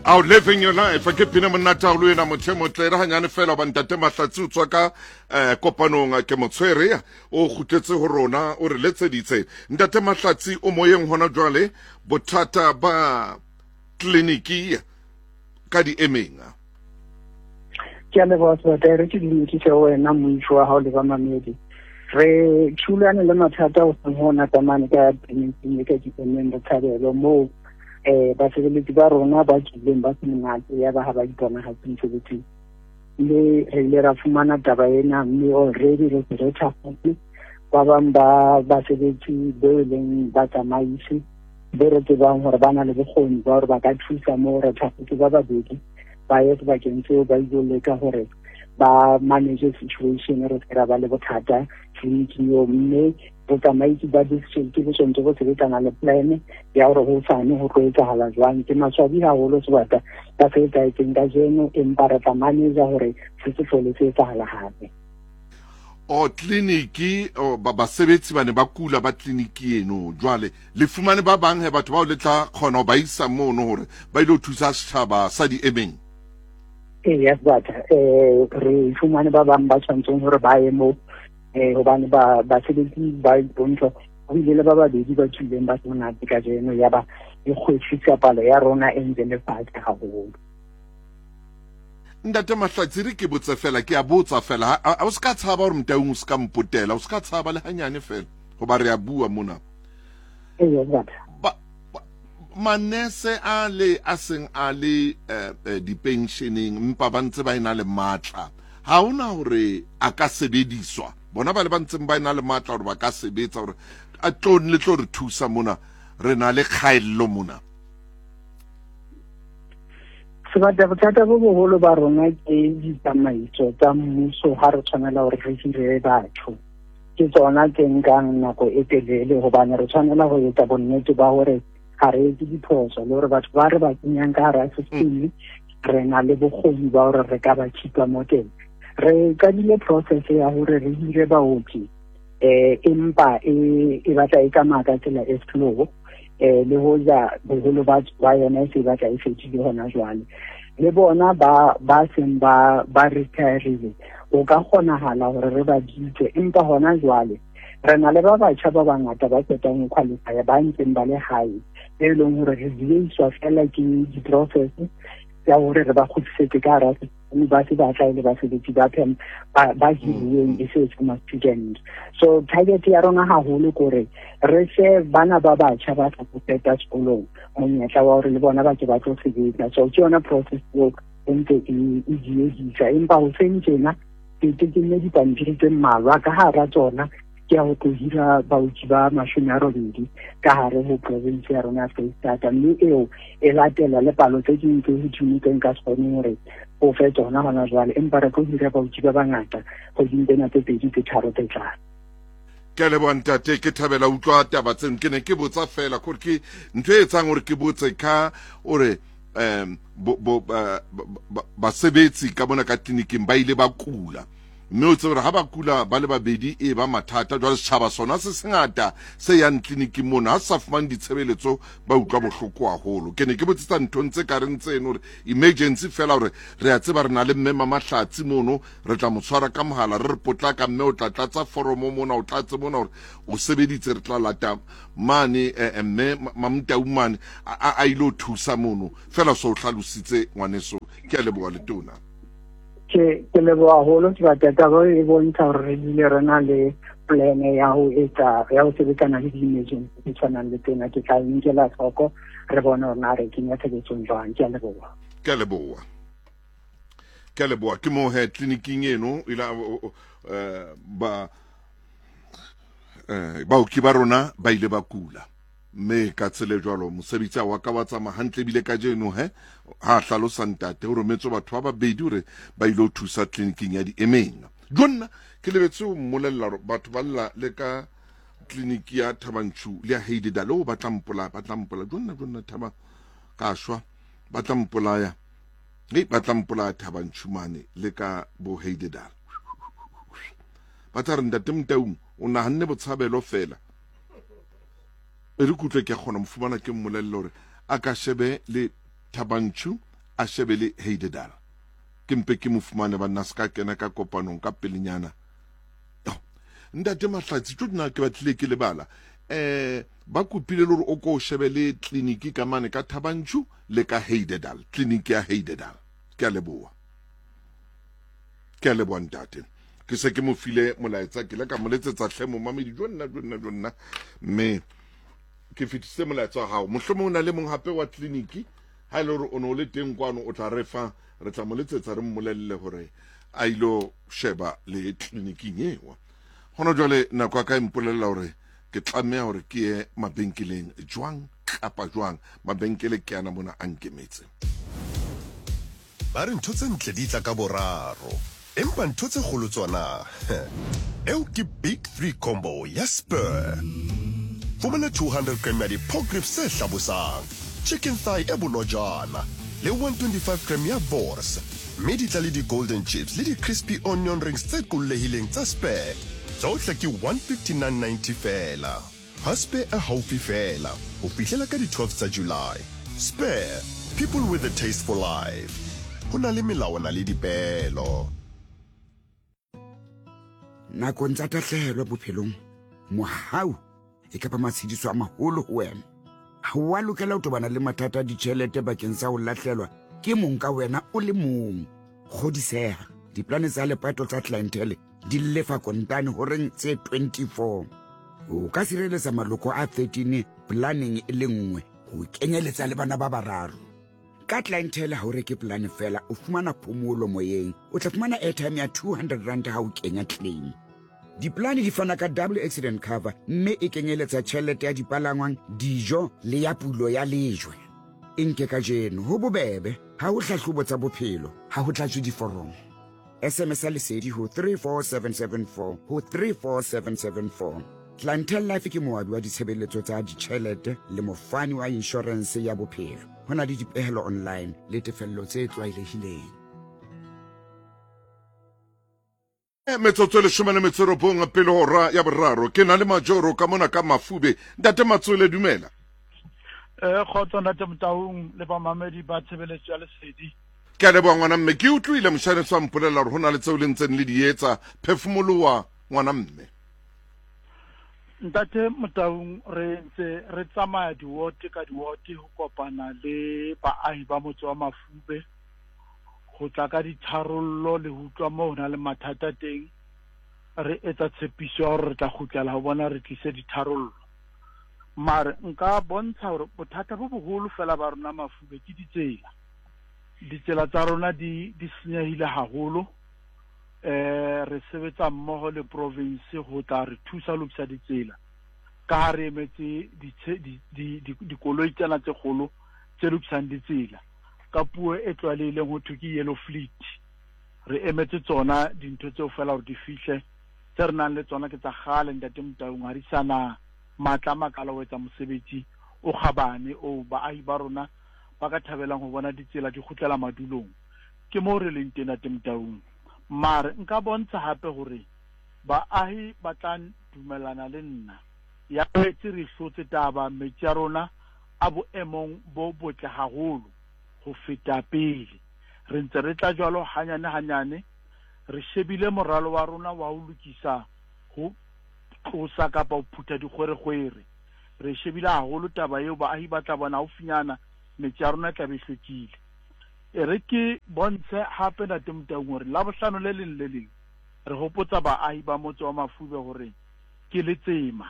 Out living your life ke pina monate haholo ena motho e motle re hanyane fela hoba ntate Mahlatsi o tswa ka eh, kopanong ke motshwere o kgutletse ho rona o re letseditse ntate Mahlatsi o moyeng hona jwale bothata ba tleliniki ka di emeng. Ke a leboha Sebata, re ke dumedise wena moitho wa hao le bamamedi. Re thulane le mathata o seng hona tsamane ka tleliniking e ka Diemeng Botshabelo moo eh basebeletsi ba rona ba tswileng ba se monate ya ba ha ba iponagatse mosebetsing. Mme re ile ra fumana taba ena mme already re se re thakgotse ba bang ba basebetsi bo e leng batsamaisi bo re tsebang gore ba na le bokgoni ba gore ba ka thusa mo re thakgotse ba babedi ba ye sebakeng seo ba ile leka gore ba manage situation re se ra ba le bothata tleliniking eo mme botsamaisi ba district bo tshwanetse go sebetsana le plan ya gore go sane go tlo etsagala jwang. Ke maswabi haholo sebaka ka se etsahetseng kajeno, empa re tla manager gore se se hlole se etsagala gape. O tleliniki o ba basebetsi ba ne ba kula ba tleliniki eno jwale le fumane ba bang he batho bao le tla kgona ho ba isa mono hore ba ile ho thusa setjhaba sa di emeng. Ee, yes batha re fumane ba bang ba tshwanetseng gore ba ye moo hobane ba basebetsi ba bontsha go ile le ba babedi ba tswileng ba se monate kajeno ya ba e kgwehlisa palo ya rona e ntse le fatshe haholo. Ntate Mahlatsi re ke botse fela ke a botsa fela ha o ska tshaba hore Motaung o ska mpotela o ska tshaba le hanyane fela hoba re a bua mona. Ba manese a le a seng a le eh, eh, dipensioneng mpa ba ntse ba ena le matla ha ona hore a ka sebediswa bona ba le ba ntseng ba ena le matla hore ba ka sebetsa hore a tlo le tlo re thusa mona re na le kgaello mona. Sebata bothata bo boholo ba rona ke ditsamaiso tsa mmuso ha re tshwanela hore re hire batho. Ke tsona tse nkang nako e telele hobane re tshwanela ho etsa bonnete ba hore ga re etse diphoso le hore batho ba re ba kenyang ka hara system re na le bokgoni ba hore re ka ba keepa mo teng. Re qadile process ya hore re hire baoki empa e e batla e tsamaya ka tsela e slow le hoja boholo ba ba yona e se e batla e fedile hona jwale. Le bona ba ba seng ba ba retirile o ka kgonahala hore re ba bitse, empa hona jwale re na le ba batjha ba bangata ba qetang ho qualify ba ntseng ba le hae e leng hore re dieiswa fela ke di-process tsa hore re ba kgutlisetse ka hara ba se ba tla e le basebetsi ba phem ba ba hiruweng e se ma student. So target ya rona haholo kore re fe bana ba batjha ba sa qeta sekolong monyetla wa hore le bona ba ke ba tlo sebetsa. So ke yona process eo e ntse e diehisa, empa hoseng tjena ke tekenne dipampiri tse mmalwa ka hara tsona ke ya ho tlo hira baoki ba 80 ka hare ho province ya rona ya Foreisetata, mme eo e latela le palo tse ding tse hodimo tse nka se kgoneng hore o fe tsona hona jwale, empa re tlo hira baoki ba bangata kgweding tsena tse pedi tse tharo tse tlang. Ke a leboha ntate, ke thabela utlwa taba tseno. Ke ne ke botsa fela gore ke ntho e etsang gore ke botse ka ore um basebetsi ka mona ka tleliniking ba ile ba kula, mme o tsebe gore ha ba kula ba le babedi e ba mathata. Jwale setjhaba sona se sengata se yang tleliniking mono ha se sa fumane ditshebeletso ba utlwa bohloko haholo. Ke ne ke botsetsa nthong tse ka reng tseno gore emergency fela gore re a tseba re na le mme Mamahlatsi mono, re tla mo tshwara ka mohala re re potlaka mme o tla tlatsa foromo mona, o tlatse mona gore o sebeditse, re tla lata mane mme Mamtau mane a ile ho thusa mono fela. So o hlalositse ngwaneso, ke a leboha letona. Ke leboha haholo sebaka. Taba e bontsha hore re bile re na le plan ya ho etsa ya ho sebetsana le di-emergency tse tshwanang le tsena. Ke tla nkela hloko re bone hore na re kenya tshebetsong jwang. Ke a leboha. Ke a leboha, ke a leboha. Ke moo he tleliniking eno ila ba baoki ba rona ba ile ba kula, mme ka tsela e jwalo mosebetsi wa ka wa tsamaya hantle. Ebile kajeno he ha hlalosa ntate o rometswe batho ba babedi hore ba ile ho thusa tleliniking ya di-emeng. Jonna ke lebetse ho mmolella hore batho ba lla le ka tleliniki ya Thabanchu le ya Heidedal o ba tla mpolaya, ba tla mpolaya. Jonna jonna thaba ka shwa, ba tla mpolaya, hei ba tla mpolaya Thabanchu mane le ka bo Heidedal. Ba tla re ntate Motaung o nahanne botshabelo fela. E re kutlwe ke kgona mo fumana ke mmolelle hore a ka shebe le Thabanchu a shebe le Heidedal. Ke mpe ke mo fumane banna se ka kena ka kopanong ka pelenyana. Oh, Ntate Mahlatsi, tjo nna ke batlile ke lebala. Eh, ba kopile le hore o ko o shebe le tleliniki ka mane ka Thabantšu le ka Heidedal, tleliniki ya Heidedal. Ke a leboha. Ke a leboha ntate. Ke se ke mo file molaetsa, ke ile ka mo letsetsa hle momamedi jo nna jo nna jo nna mme ke fetisitse molaetsa wa gago. Mohlomong o na le mong gape wa tleliniki ha e le gore o ne o le teng kwano o tla re fa re tla mo letsetsa re mmolelele gore a ilo sheba le tleliniking ewa. Gona jwale nako ya ka e mpolelela gore ke tlameha gore ke ye mabenkeleng jwang kapa jwang. Mabenkele ke ana mona a nkemetse. Ba re ntho tse ntle di tla ka boraro, empa ntho tse kgolo tsona, eo ke Big Three Combo ya Spur. Fumana 200 gram ya di-pork ribs tse hlabosang, chicken thigh e bonojana le 125 gram ya wors, mme di tla le di-golden chips le di-crispy onion rings tse qollehileng tsa Spur. Tsohle ke 159.90 feela. Ha Spur e haufi feela ho fihlela ka di 12 tsa July. Spur, people with a taste for life. Ho na le melawana le dipeelo. Nakong tsa tahlehelo bophelong, mohau e ka ba matshediso a maholo ho wena. Ha wa lokela ho tobana le mathata a ditjhelete bakeng sa ho lahlelwa ke mong ka wena o le mong. Kgodiseha, diplane tsa lepato tsa Clientele di lefa kontane horeng tse 24. O ka sireletsa maloko a 13 planeng e le nngwe ho kenyeletsa le bana ba bararo. Ka Clientele ha o reke polane fela, o fumana phomolo moyeng. O tla fumana airtime ya 200 rand ha o kenya claim. Diplane di fana ka double accident cover mme e kenyeletsa tjhelete ya dipalangwang, dijo le ya pulo ya lejwe. E nke kajeno, ho bobebe, ha ho hlahlobo tsa bophelo, ha ho tlatswe diforomo. SMS ya Lesedi ho 34774 ho 34774. Clientele Life ke moabi wa ditshebeletso tsa ditjhelete le mofani wa inshorense ya bophelo. Ho na le dipehelo online le tefello tse tlwaelehileng. Metsotso e leshome le metso e robong pele hora ya boraro. Ke na le Majoro ka mona ka Mafube. Ntate Matswele, dumela. Kgotso Ntate Motaung le bamamedi ba tshebeletso ya Lesedi. Ke a leboha ngwana mme. Ke utlwile moshaneso a mpolelela hore ho na le tseo le ntseng le di etsa. Phefumoloha ngwana mme. Ntate Motaung, re ntse re tsamaya diwote ka diwote ho kopana le baahi ba motse wa Mafube ho tla ka ditharollo le ho utlwa moo ho na le mathata teng. Re etsa tshepiso ya hore re tla kgutlela ho bona re tlise ditharollo. Mare nka bontsha hore bothata bo boholo fela ba rona Mafube ke ditsela. Ditsela tsa rona di di senyehile haholo. Eh re sebetsa mmoho le province ho tla re thusa ho lokisa ditsela. Ka ha re emetse dikoloi tsena tse kgolo tse lokisang ditsela. Ka puo e tlwaelehileng ho thwe ke yellow fleet. Re emetse tsona dintho tseo fela hore di fihle. Tse re nang le tsona ke tsa kgale Ntate Motaung, ha di sa na matla a makalo ho etsa mosebetsi o kgabane oo baahi ba rona ba ka thabelang ho bona ditsela di kgutlela madulong. Ke moo re leng teng Ntate Motaung. Mare nka bontsha hape hore baahi ba tla dumellana le nna. Ya boetse re hlotse taba, metsi a rona a boemong bo botle haholo ho feta pele. Re ntse re tla jwalo hanyane hanyane, re shebile moralo wa rona wa ho lokisa ho tlosa kapa ho phutha dikgwerekgwere. Re shebile haholo taba eo, baahi ba tla bona haufinyana metse ya rona e tla be e hlwekile. E re ke bontshe hape Ntate Motaung hore Labohlano le leng le leng re hopotsa baahi ba motse wa Mafube hore ke letsema.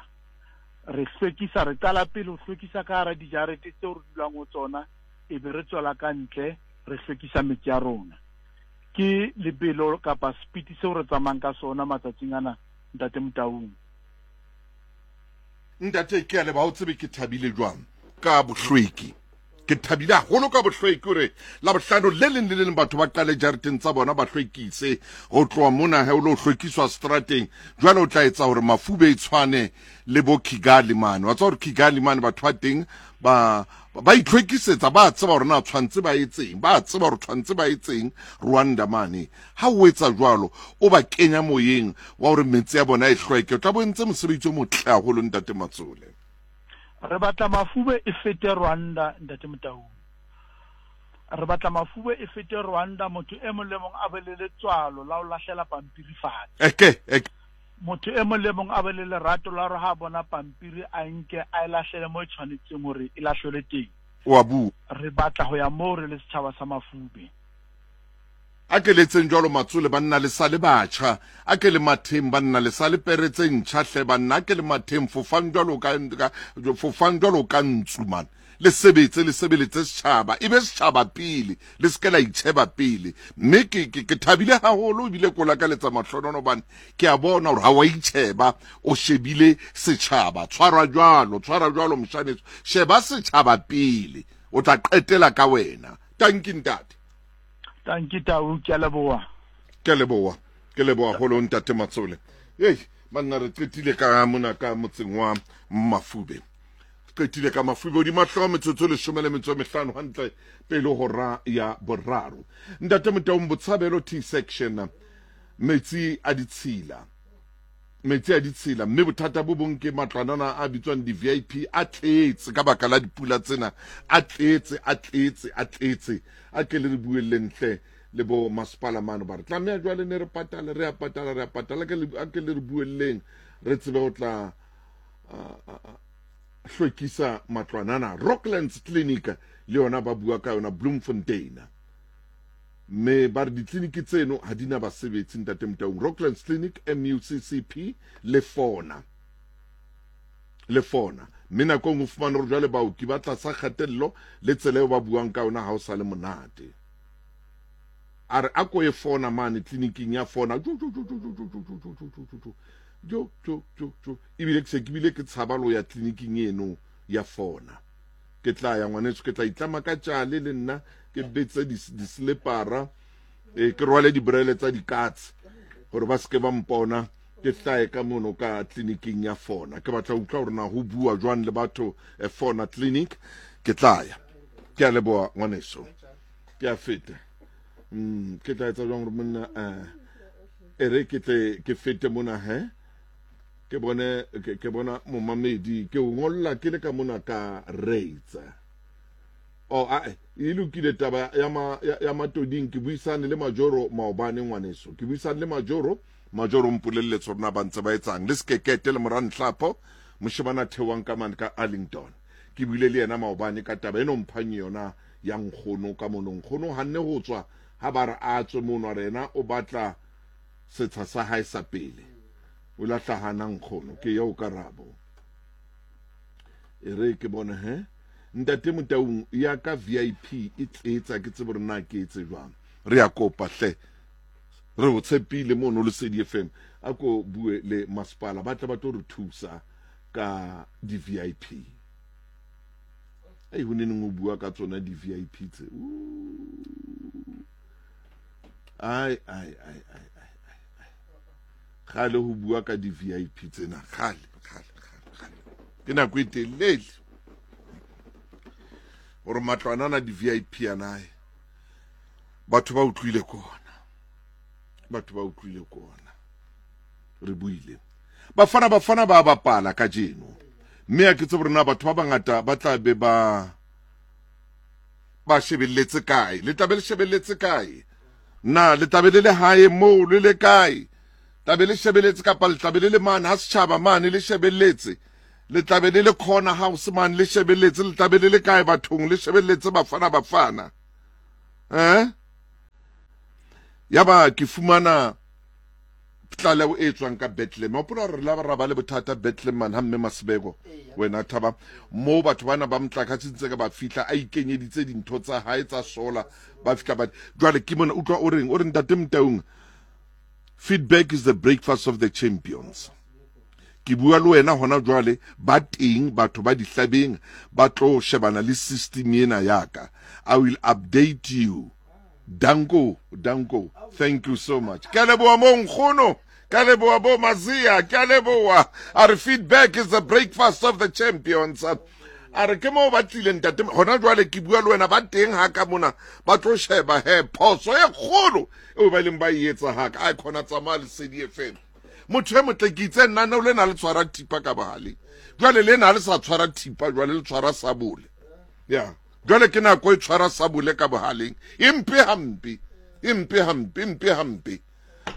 Re hlwekisa, re qala pele ho hlwekisa ka hara dijarete tseo re dulang ho tsona, e be re tswela ka ntle re hlwekisa metse ya rona. Ke lebelo kapa speed seo re tsamayang ka sona matsatsing ana Ntate Motaung. Ntate, ke a leboha, o tsebe ke thabile jwang ka bohlweki. Ke thabile haholo ka bohlweki hore Labohlano le leng le le leng batho ba qale jareteng tsa bona ba hlwekise. Ho tloha mona he o lo hlwekiswa strateng. Jwale o tla etsa hore Mafube e tshwane le bo Kigali mane. Wa tseba hore Kigali mane batho ba teng ba ba itlhwekisetsa, ba tseba hore na tshwantse ba etseng, ba tseba hore tshwantse ba etseng Rwanda mane. Ha o etsa jwalo, o ba kenya moyeng wa hore metse ya bona e hlweke. O tla bo entse mosebetsi o motle haholo, Ntate Matsole. Re batla Mafube e fete Rwanda, Ntate Motaung. Re batla Mafube e fete Rwanda, motho e mong le mong a be le letswalo la ho lahlela pampiri fatshe. Eke, eke. Motho e mong le mong a be le lerato la hore ha a bona pampiri a e nke a e lahlele mo e tshwanetseng hore e lahlelwe teng. O a bua. Re batla ho ya moo re le setjhaba sa Mafube. A ke letseng jwalo matsole banna le sa le batjha. A ke le matheng banna le sa le pere tse ntjha hle banna. A ke le matheng fofang jwalo ka, ka fofang jwalo ka ntsu man. Le sebetse le sebeletse setjhaba e be setjhaba pele le se ke la itjheba pele. Mme ke, ke, ke thabile haholo ebile ko lakaletsa mahlonono hobane ke a bona hore ha wa itjheba o shebile setjhaba. Tshwara jwalo, tshwara jwalo moshaneso. Sheba setjhaba pele o tla qetela ka wena. Tanki ntate. Tanki Tau, ke a leboha. Ke a leboha. Ke leboha holo ntate Matsole. Ei, banna re qetile ka mona ka motseng wa Mafube. Qetile ka Mafube hodima hlooho metsotso e leshome le metso e mehlano hantle pele hora ya boraro. Ntate Motaung Botshabelo T section metsi a ditshila. Metsi a ditshila mme bothata bo bong ke matlwanana a bitswang di-VIP a tletse ka baka la dipula tsena a tletse a tletse a tletse a ke le re buelleng hle le bo masepala mane ba re tlameha jwale ne re patale re a patala re a patala a ke le re buelleng re tsebe ho tla hlwekisa matlwanana Rocklands Clinic le yona ba bua ka yona Bloemfontein Mme ba re ditleliniki tseno ha di na basebetsi, Ntate Motaung. Rocklands Clinic, MUCCP, le Fona. Le Fona. Mme nako e nngwe o fumane hore jwale baoki ba tlasa kgatello le tsela eo ba buang ka yona ha o sa le monate. A re a ko ye Fona mane tleliniking ya Fona. Jo, jo, jo, jo, jo, jo, jo, jo, jo, jo, jo, jo, jo, jo, jo, jo. Ebile ke se ke bile ke tshaba le ho ya tleliniking eno ya Fona. Ke tla ya ngwaneso, ke tla itlama ka tšale le nna, ke betse dislepara, e, ke rwale dibrele tsa dikatse gore ba seke ba mpona ke hlae ka mono ka tleliniking ya Fona. Ke batla utlwa gore na ho bua jwang le batho eh, Fona clinic. Ke tla ya. Ke a leboha ngwaneso. Ke a feta. Ke tla etsa jwang gore monna eh e re ke tle ke fete mona he. Ke bone ke bona momamedi ke o ngolla ke le ka mona ka reitsa. Oh ae e lokile taba ya ma ya, ya matoding ke buisane le Majoro maobane ngwaneso. Ke buisane le Majoro, Majoro mpolelletse hore na ba ntse ba etsang le Sekekete le Morantlhapo moshemane a theohang ka mane ka Arlington. Ke buile le yena maobane ka taba eno mphang yona ya nkgono ka mono. Nkgono hanne ho tswa ha ba re a tswe mono a re yena o batla setsha sa hae sa pele. O la hlahana nkgono ke eo karabo. E re ke bone he. Ntate Motaung ya ka VIP e tletsa ke tsebe hore na ke etse jwang. Re a kopa hle. Re o tshepile mono Lesedi FM. A ko bue le masepala ba tle ba tlo re thusa ka di VIP. Ei ho neneng o bua ka tsona di VIP tse. Ai ai ai ai ai. Kgale ho bua ka di VIP tsena kgale kgale kgale kgale. Ke nako e telele hore matlwana ana di VIP anae batho ba utlwile kona, batho ba utlwile kona. Re buile bafana bafana ba bapala kajeno mme a ke tsebe rona batho ba bangata ba tla be ba ba shebelletse kae, le tla be le shebelletse kae, na le tla be le le hae moo le le kae, tla be le shebelletse kapa le tla be le le mane ha setjhaba mane le shebelletse, le tla be le le corner house mane le shebelletse, le tla be le le kae bathong le shebelletse bafana bafana eh? Yaba ke fumana tlaleho e tswang ka Bethlehem. Hopola re la ra ba le bothata Bethlehem man ha mme Masibeko wena thaba mo batho bana ba motlakase ntse ka ba fihla a ikenyeditse dintho tsa hae tsa solar ba fihla ba jwale ke mona utlwa o reng o re ntate Motaung feedback is the breakfast of the champions. Ke bua le wena hona jwale ba teng batho ba dihlabeng ba tlo shebana le system ena yaka. I will update you. Danko, danko. Thank you so much. Ke a leboha mo nkgono. Ke a leboha bo Mazia. Ke a leboha. A re feedback is the breakfast of the champions. A re ke moo ba tlileng ntate. Hona jwale ke bua le wena ba teng ha ka mona ba tlo sheba he phoso e kgolo eo ba ileng ba e etsa ha ka. Ai khona tsamaya Lesedi FM. Motho e motle ke itse nna ne le na le tshwara thipa ka bohaleng. Jwale le na le sa tshwara thipa jwale le tshwara sabole. Yeah. Jwale ke nako e tshwara sabole ka bohaleng. E mpe hampe. E mpe hampe, e mpe hampe.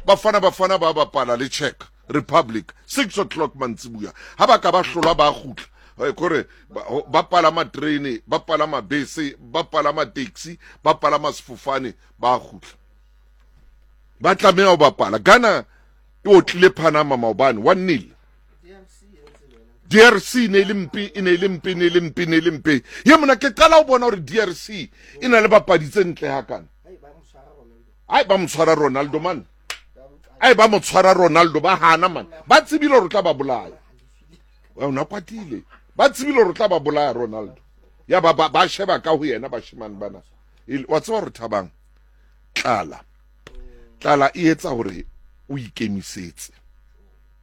Bafana Bafana ba bapala le Czech Republic 6 o'clock mantsibuya. Ha ba ka ba hlolwa ba kgutla. Eh, kore ba palama terene, ba palama bese, ba palama taxi, ba palama sefofane, ba kgutla. Ba tlameha ho bapala. Ghana e otlile Panama maobane 1-0. DRC ne le mpe e ne le mpe ne le mpe ne le mpe ye mona ke qala ho bona hore DRC e na le bapadi tse ntle hakana ai ba mo tshwara Ronaldo man ai ba mo tshwara Ronaldo ba hana man ba tsebile hore tla ba bolaya ona kwatile ba tsebile hore tla ba bolaya Ronaldo ya ba ba sheba ka ho yena bashemane bana wa tseba hore thabang tlala tlala e etsa hore o ikemisetse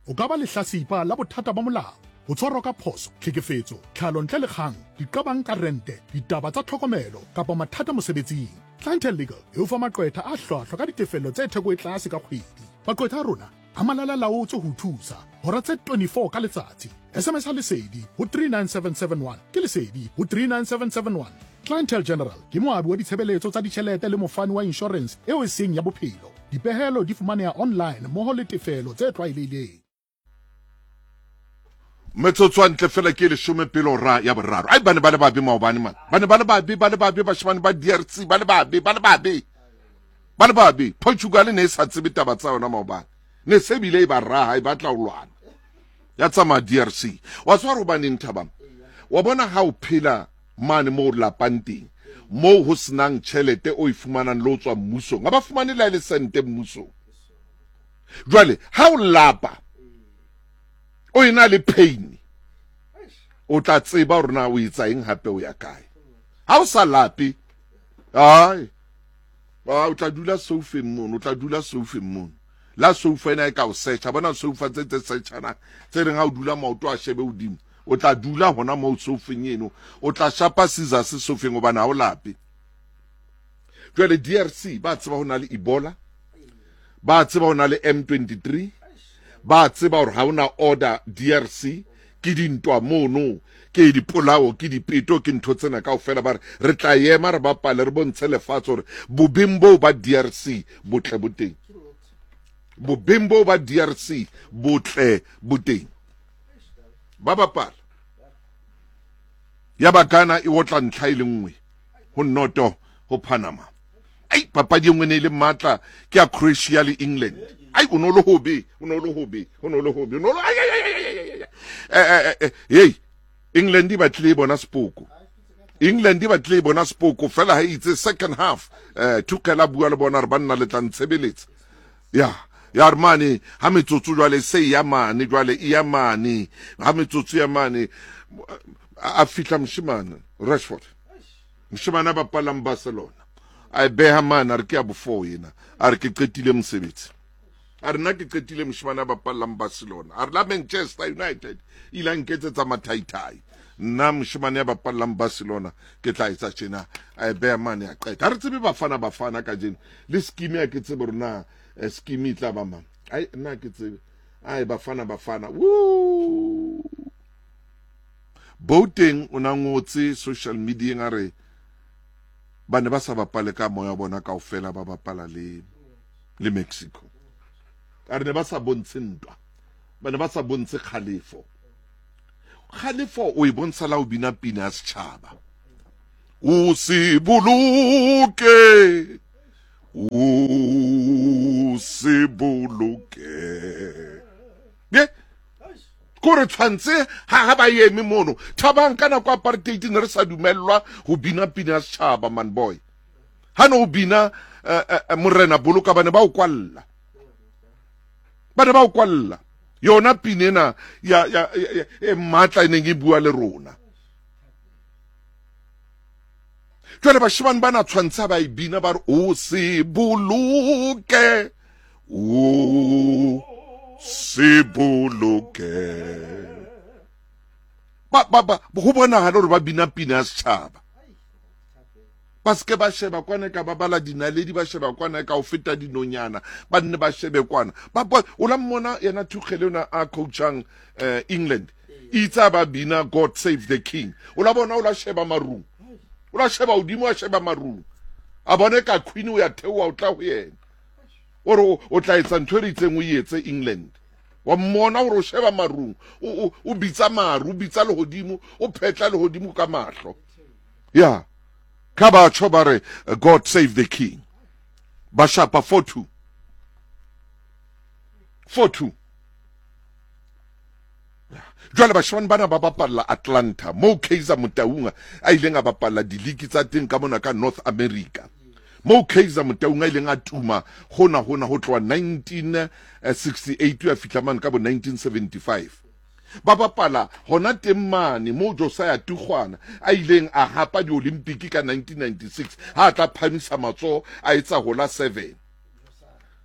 O ka ba lehlasipa la bothata ba molao, ho tshwarwa ka phoso, tlhekefetso, tlhalo ntle le kgang, diqabang ka rente, ditaba tsa tlhokomelo kapa mathata mosebetsing. Clientele Legal e o fa maqwetha a hlwahlwa ka ditefello tse theko e tlase ka kgwedi. Maqwetha a rona a malala-laotswe ho o thusa hora tse 24 ka letsatsi. SMS-a Lesedi ho 39771 ke Lesedi ho 39771. Clientele General ke moabi wa ditshebeletso tsa ditjhelete le mofani wa inshorense eo e seng ya bophelo. Dipehelo di fumaneha online mmoho le tefelo tse tlwaelehileng. Metsotso a ntle fela ke leshome pele hora ya boraro. Ai ba ne ba le babe maobane man. Ba ne ba le babe, ba le babe bashemane ba DRC, ba le babe, ba le babe. Ba le babe. Portugal ne e sa tsebe taba tsa yona maobane. Ne se bile e ba raha e batla ho lwana. Ya tsamaya DRC. Wa tswa hobaneng Thabang? Wa bona ha o phela mane moo lapang teng moo ho senang tjhelete o e fumanang le ho tswa mmusong ha ba fumane le ha e le sente mmusong jwale ha o lapa o ena le pain o tla tseba hore na o etsa eng hape o ya kae ha o sa lape ai o tla dula soufeng mono o tla dula soufeng mono la soufa ena e ka o searcha bona soufa tse tse searchana tse reng ha o dula maoto a shebe hodimo o tla dula hona moo soufeng eno o tla shapa scissors soufeng hobane ha o lape jwale DRC ba tseba ho na le Ebola ba tseba ho na le M23 ba tseba hore ha ona order DRC ke dintwa mono ke dipolao ke dipeto ke ntho tsena kaofela ba re re tla ema re bapale re bontshe lefatshe hore bobeng boo ba DRC botle bo teng bobeng boo ba DRC botle bo teng ba bapala ya ba Ghana e otla ntlha e le nngwe ho noto ho Panama ai papadi e nngwe ne e le matla ke ya Croatia le England ai o no le hobe o no le hobe o no le hobe o no le ai ai ai ai ai eh hey England e batlile e bona sepoko England e batlile e bona sepoko fela ha itse second half eh Tuchel a bua le bona re banna le tla ntshebeletsa ya ya re mane ha metsotso jwale se ya mane jwale e ya mane ha metsotso ya mane a fihla moshemane Rashford moshemane a bapalang Barcelona a e beha mane a re ke ya bofo ena a re ke qetile mosebetsi a re nna ke qetile moshemane a bapallang Barcelona a re la Manchester United ile a nketsetsa mathaithai nna moshemane ya bapallang Barcelona ke tla etsa tjena a e beha mane a qeta ha re tsebe bafana bafana kajeno le scheme ya ke tsebe hore na eh, scheme e tla ba mang ai nna ke tsebe ai bafana bafana woo Boateng o na ngotse social media a re ba ne ba sa bapale ka moya wa bona kaofela ba bapala le le Mexico a re ne ba sa bontshe ntwa ba ne ba sa bontshe kgalefo kgalefo o e bontsha la o bina pina ya setšhaba o se boloke o se boloke ye ko re tshwanetse ha ha ba eme mono thabang ka nako apartheid ne re sa dumellwa ho bina pina ya setšhaba man boy ha ne o bina eh, eh, eh, morena boloka ba ne ba o kwalla ba ne ba o kwalla yona pina ena ya ya e matla e neng e bua le rona jwale bashemane ba na tshwantsha ba e bina ba re o se boloke o se boloke ba ba ba go bonagala gore ba bina pina ya setšhaba ba seke ba sheba kwana ka ba bala dinaledi ba sheba kwana ka o feta dinonyana ba nne ba shebe kwana ba o la mmona yena Tuchel yona a coachang eh, England itse ba bina God save the king o la bona o la sheba marung o O la sheba hodimo, a sheba marung, a bone ka queen o ya theoha o tla ho yena. O re o tla etsa ntho e re itseng o e etse England. Wa mmona hore o sheba marung, o bitsa maru, o bitsa lehodimo, o phetla lehodimo ka mahlo. Ya. Ka batjho ba re God save the king. Ba shapa 4-2. 4-2. Jwale bashemane bana ba bapalla Atlanta, moo Kaizer Motaung a ileng a bapalla diliki tsa teng ka mona ka North America. Moo Kaizer Motaung a ileng a tuma hona hona ho tloha 1968 ya fihla mane ka bo 1975. Ba bapala hona teng mane moo Josiah Tugwana a ileng a hapa di-Olympic ka 1996 ha a tla phamisa matsoho a etsa hola 7.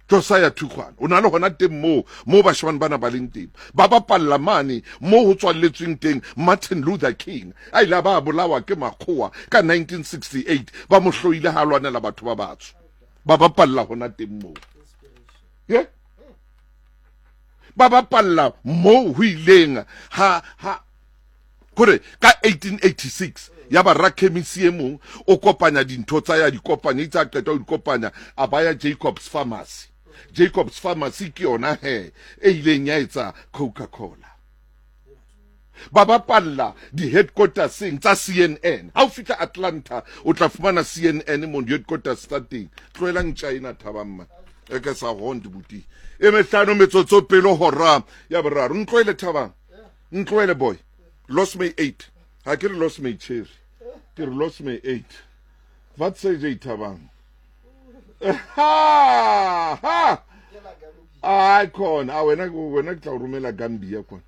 Josiah Thukgwana o na le hona teng moo moo bashemane bana ba leng teng. Ba bapalla mane moo ho tswalletsweng teng Martin Luther King a ile a ba bolawa ke makgowa ka 1968, ba mo hloile ha a lwanela batho ba batsho. Ba bapalla hona teng moo. Ye? Ba bapalla moo ho ileng ha ha kore ka 1886 ya ba rakhemisi e mong o kopanya dintho tsa ya di kopanya, itse a qeta ho di kopanya a baya Jacobs Pharmacy. Jacobs Pharmacy ke yona he e ileng ya etsa Coca-Cola. Ba bapalla di-headquarterseng tsa CNN. Ha o fihla Atlanta o tla fumana CNN mo di-headquarters tsa teng. Tlohelang China thabang man. E ke sa hond buti. E mehlano metsotso pele hora ya boraro. Ntlohele thabang. Ntlohele boy. Lost my 8. Ha ke re lost my cherry. Ke re lost my 8. Wat sê jy thabang? Ha ha. Ai khona, a wena wena ke tla o romela Gambia kwana.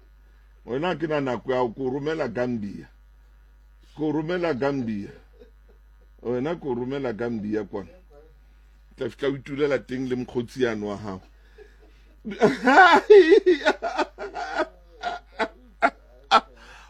Wena ke na nako ya ko romela Gambia. Ko romela Gambia. Wena ko romela Gambia kwana. Tla fihla o itulela teng le mokgotsi yano wa hao.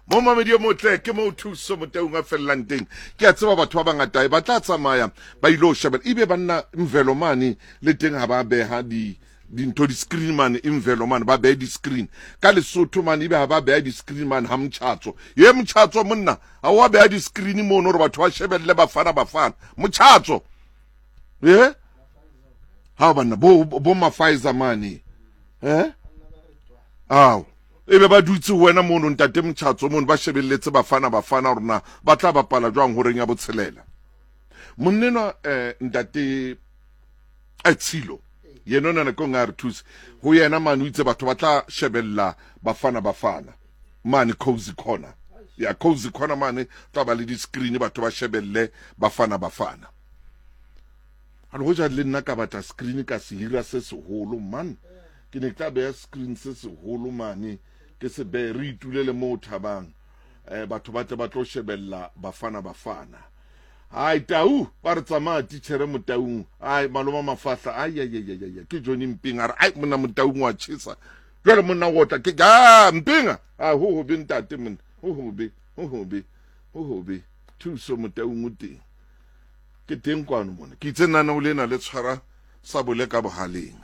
Mo mamedi o motle ke mo thuso motaung a fellang teng. Ke a tseba batho ba bangata e ba tla tsamaya ba ile ho shebella. Ebe banna Mvelo mane le teng ha ba beha di dintho di-screen mane Imvelo mane ba behe di-screen ka Lesotho mane, ebe ha ba beha di-screen mane ha Motjhatso. Ye Motjhatso monna ha wa beha di-screen mono hore batho ba shebelle Bafana Bafana. Motjhatso ye ha banna bo bo Mafaiza mane eh ao ebe ba dutse ho wena mono ntate Motjhatso mono ba shebelletse Bafana Bafana rona ba tla bapala jwang horeng ya botshelela. Monnenwa ntate Tshilo yena ona nakong a re thuse ho yena mane o itse batho ba tla shebella Bafana Bafana mane Cozy Corner. Ya Cozy Corner mane tla ba le di-screen batho ba shebelle Bafana Bafana. A le hoja le nna ka batla screen ka se hira se seholo man, ke ne ke tla beha screen se seholo mane ke se behe re itulele moo thabang batho ba tle ba tlo shebella Bafana Bafana. Ai tau ba re tsamaya titjhere Motaung. Ai maloma mafahla ai ai ai ai ai ke Johnny Mping a re ai monna Motaung wa tjhesa. Jwale monna o tla ke ga Mpinga. A ho hobe ntate monna. Ho hobe, ho hobe, ho hobe. Thuso Motaung o teng. Ke teng kwano mona. Ke itse nana o lena le tshwara sabole ka bohaleng.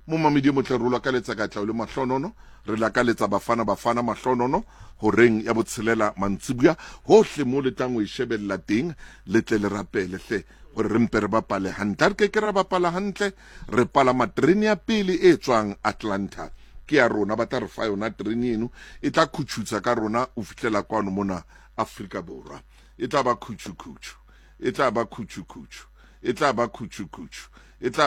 Momamedi motle re o lakaletsa katleho le mahlonono. Re lakaletsa Bafana Bafana mahlonono horeng ya botshelela mantsibuya. Hohle mo le tlang ho e shebella teng, le tle le rapele hle hore re mpe re bapale hantle. Ha re ke ke ra bapala hantle, re palama terene ya pele e tswang Atlanta. Ke ya rona, ba tla re fa yona terene eno. E tla khutshutsa ka rona ho fihlela kwano mona Afrika Borwa. E tla ba khutshukhutshu. E tla ba khutshukhutshu. E tla ba khutshukhutshu. E tla